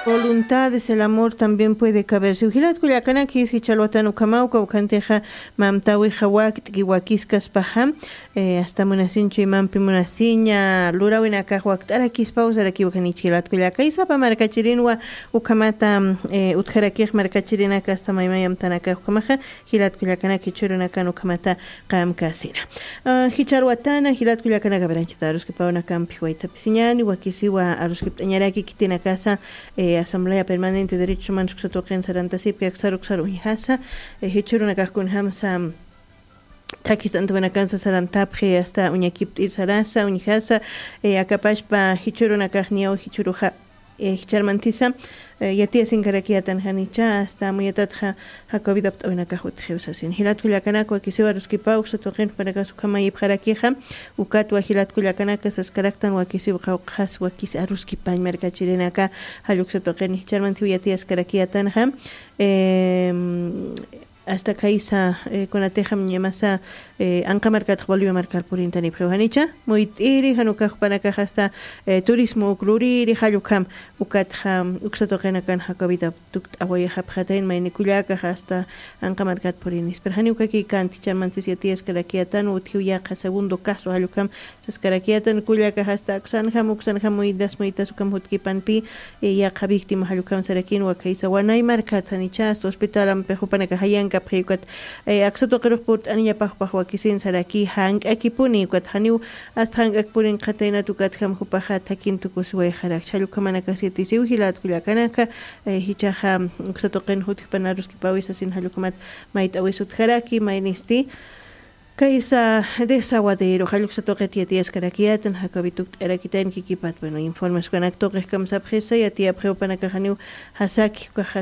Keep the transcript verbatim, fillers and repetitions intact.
Voluntades, el amor también puede caber. Si jilat kullakanakis jichha alwatan ukhamaw, uka ukhantixa mamtawixa wakt'ki wakiskaspaxa, eh, hasta munasinchu imampi munasiña, lurawinakax wakt'arakispaw sarakiw ukhanichi jilat kullaka. Isapa markachirinwa ukhamata, eh, utjarakix markachirinaka hasta maymayamtanakax ukhamaxa, jilat kullakanak jichhürunakan ukhamata qamkasina. Ah, jichha alwatana, jilat kullakanaka, aranchata aruskipawnakampi waytapisiñani, wakisiwa aruskipt'añaraki khitinakasa, eh, Asamblea Permanente de Derechos Humanos uksa tuqin sarantasipki aksar uksar uñjasa, eh, jichhürunakax kunjamsa, thakist'antawinakansa sarantapxi, hasta uñakipt'ir sarasa, uñjasa, eh, akapachpa jichhürunakax niyaw jichhüruxa, eh, jichharmantisa, eh, yatiyasinkarakiyatan janicha, hasta amuyatatxa, Jacobitapt'awinakax utjiw sasin. Jilat kullakanaka wakisiw aruskipaw, uksa tuqin jupanakas ukhamayipxarakixa, ukatwa jilat kullakanaka saskaraktan wakisiw qawqhas wakis aruskipañ markachirinaka, jall uksa tuqin jichharmantiw yatiyaskarakiyatanxa, em, hasta khaysa, eh, kunatixam ñamasa, eh, anqa markatx Bolivia markar purintanipxiw janicha, muyt'iri, jan ukax jupanakax hasta, eh, turismo uk luriri, jall ukham, ukatxa, uksa tuqinakan Jacobitap tukt'awayxapxatayn mayni kullakax hasta anqa markat purinis. Pero janiw ukaki kanti, jichharmantis yatiyaskarakiyatan, utjiw yaqha segundo caso, jall ukham saskarakiyatan kullakax hasta aksanjam, uksanjam muytas, muytas ukham jutkipanpi, eh, yaqha víctima jall ukham sarakin wakaysa Wanay markat janicha hasta hospitalampi jupanakax jayankapxi ukat, eh, aksa tuqirux purt'aniñapax jupax wakisin saraki jank'akipuni ukat janiw hasta jank'ak purinxataynat ukatjam jupaxa thakin tukusiwayxarak. Jall ukhamanakas yatisiw jilat kullakanaka, eh, jichhaxa uksa tuqin jutjpan aruskipawi sasin jall ukhamat mayt'awis utjaraki, maynisti. Kaysa desaguadero, jall uksa tuqit yatiyaskarakiyatan, Jacobi tukt'arakitayn kikipat, bueno, informes ukanak tuqix kamsapxisa, yatiyapxi jupanakax janiw jasaki, ukaxa